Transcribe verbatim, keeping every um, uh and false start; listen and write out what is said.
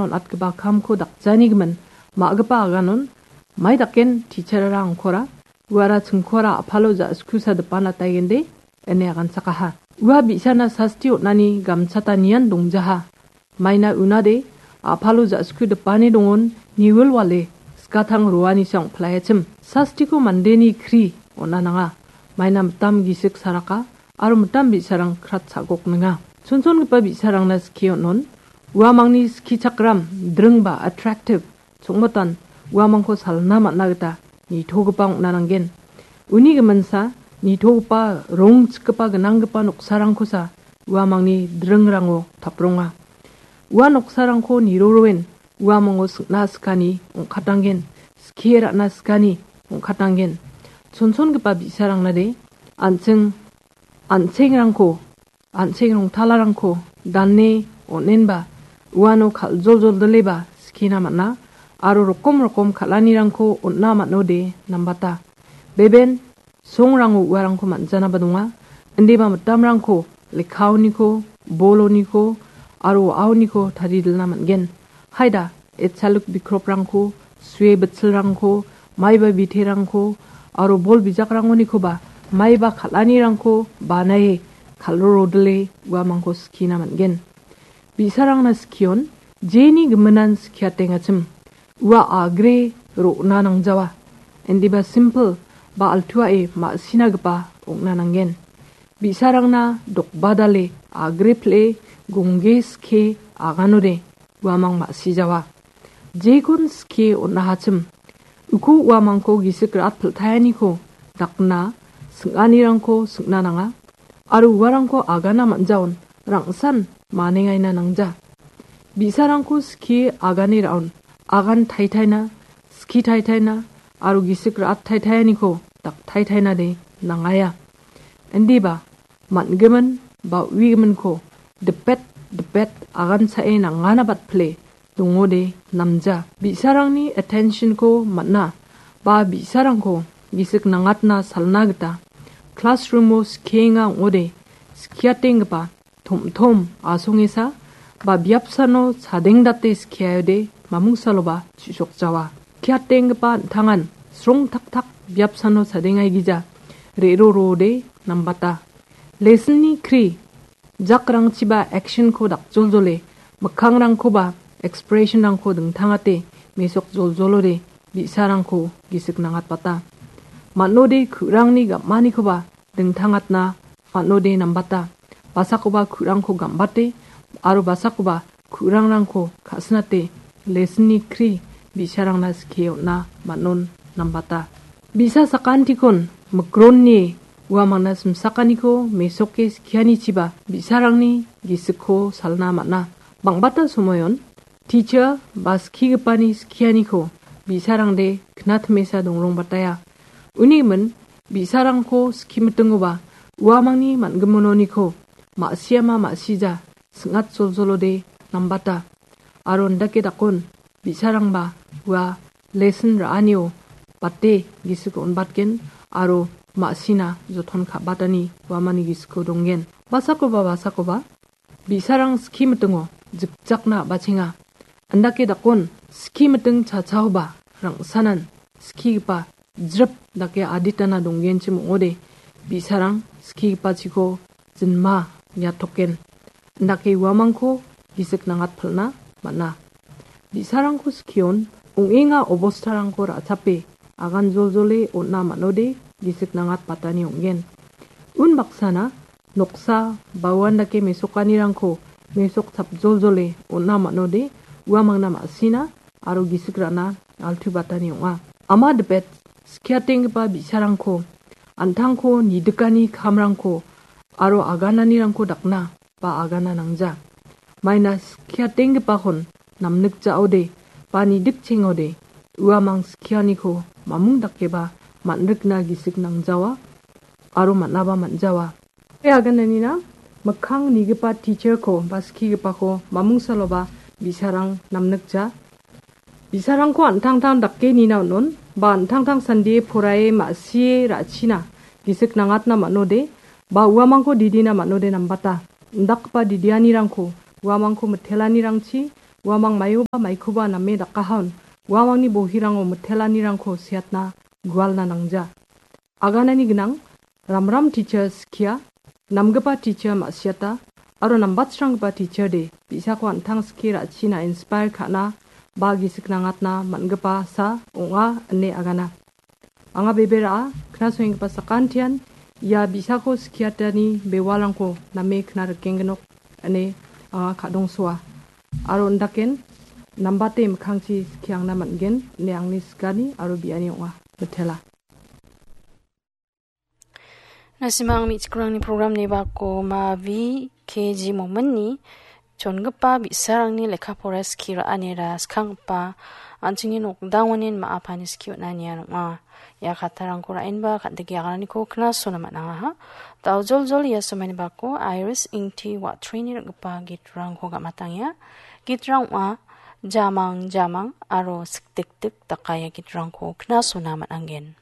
on·atgipa kamko dakjanigimin ma·gipa aganon mai daken teacher-ara angkora uara chingkoara a·palo ja·sku sadipana taigende ine aganchakaha. Ua bi·sana sasti on·ani gamchata nian dongjaha. Maina unade a·palo ja·sku dipane dongon niwilwale skatang roanisa ong·plaiachim. Sastiko mandeni kri on·a nanga. Maina mitam gisik saraka aro mitam bi·sarang krat sa·gokninga. Chonchongipa bi·sarangna skie on·on. Uamangni skichakram dringba attractive chongmotan uamangko salna man·a gita nitogipa ong·na nanggen. Uni giminsa nitogipa rongchikgipa gnanggipa noksarangkosa uamangni dringrango tapronga. Ua noksarangko niroroen uamango sing·na sikani ong·katanggen, skie ra·na sikani ong·katanggen. Chonchongipa bi·sarangnade an·ching an·chengrangko, an·cheng rongtalarangko dane on·enba uano kal·joljoldileba skina man·a aro rokom rokom kal·anirangko on·na man·ode nambata. Beben songrango uarangko man·janaba donga. Indiba mitamrangko lekkaoniko, boloniko aro wa·aoniko taridilna man·gen. Haida, etsaluk bikroprangko, sue bitsilrangko, maiba biterangko aro bol bijakrangonikoba maiba kal·anirangko banae kal·rorodile uamangko skina man·gen. Bi·sarangna skion jeni giminan skiatengachim ua agre ro·na nangjawa. Indiba simpel ba altuae ma·sinagipa ong·na nanggen. Bi·sarangna dokbadale agre pile gongge skie aganode uamang ma·sijawa. Jekon skie on·ahachim uko uamangko gisik ra·at piltaeniko dakna sing·anirangko sing·na nanga aro uarangko agana man·jaon rang·san manengaina nangja. Bi·sarangko skie agane ra·on agan taitaina, skie taitaina aro gisik ra·at taitaeniko dak taitainade nangaia. Indiba man·gimin ba uigiminko dipet dipet aganchae nangana batpile dongode namja. Bi·sarangni attention-ko man·a ba bi·sarangko gisik nangatna salna gita classroom-o skienga ong·ode skiatenggipa tom·tom asongesa ba biapsano chadengdate skiaode mamungsaloba chu·sokjawa. Skiatenggipa an·tangan srongtaktak biapsano chadengaigija re·roroode nambata. Lesson-ni kri jakrangchiba action-ko dakjoljole, mikkangrangkoba expression-rangko dingtangate mesok joljolode bi·sarangko gisik nangatbata. Man·ode ku·rangni gam·anikoba dingtangatna man·ode nambata. Basakoba ku·rangko gam·bate aro basakoba ku·rangrangko ka·sinate lesson-ni kri bi·sarangna skie on·a man·on nambata. Bi·sa sakantikon mikronni uamangna simsakaniko mesoke skianichiba bi·sarangni gisikko salna man·a. Bang·bata somoion teacher ba skigipani skianiko bi·sarangde knatmesa dongrongbataya. Unigimin bi·sarangko skimitingoba uamangni man·gimononiko ma·siama ma·sija sing·at joljolode nambata. Aro indake dakon bi·sarangba ua lesson ra·anio bate gisik on·batgen aro ma·sina joton ka·batani uamani gisiko donggen. Basakoba basakoba bi·sarang skimitingo jikjakna a·bachenga. Indake dakon skimiting chachaoba rang·sanan skigipa jrip dake aditana donggenchim ong·ode bi·sarang skigipachiko jinma niatoken. Indake uamangko gisik nangatpilna man·a. Bi·sarangko skion ong·enga obostarangko ra·chape agan joljole on·a man·ode gisik nangatbatani ong·gen. Unbaksana noksa ba uandake mesokanirangko mesok chapjoljole on·a man·ode uamangna ma·sina aro gisik ra·na altubatani ong·a. Ama dipet skiatenggipa bi·sarangko an·tangko nidikani kamrangko aro agananirangko dakna ba agana nangja. Maina skiatenggipakon namnikjaode ba nidikchengode uamang skianiko mamung dakeba man·rikna gisik nangjawa aro man·aba man·jawa. Ue agananina mikkang nigipa teacher-ko ba skigipako mamungsaloba bi·sarang namnikja. Bi·sarangko an·tangtang dake nina on·on ba an·tangtang sandie poraie ma·sie ra·china gisik nangatna man·ode ba uamangko didina man·ode nambata. Indakgipa didianirangko uamangko mitelanirangchi Uamang maioba maikoba name dakahaon, uamangni bohirango mitelanirangko seatna gualna nangja. Aganani gnang, ramram teacher skia, namgipa teacher ma·siata, aro nambatsranggipa teacher de, bi·sako an·tang skie ra·china inspire ka·na, ba gisik nangatna man·gipa sa ong·a ine agana. Anga bebe ra·a, knasoenggipa sakantian, ia bi·sako skiatani bewalrangko name kna rikengginok ine anga ka·dongsoa. Aro indaken, nambate mikkangchi skiangna man·gen ine angni sigani aro biani ong·a. Mitela. Nasimang me·chikrangni program-ni bako Mavi K G Mominni chongipa bi·sarangni lekka pora skie ra·anira skanggipa an·chingni nokdangonin ma·a pani skie on·a nian ong·a. Ia kattarangko ra·enba kan·dike agananiko knasona man·angaha. Daojoljol ia somaini bako Iris Ingti Watrini ring·gipa gitrangko gam·atangenga. Gitrang ong·a Jamang Jamang aro Sikdikdik daka ia gitrangko knasona man·angen.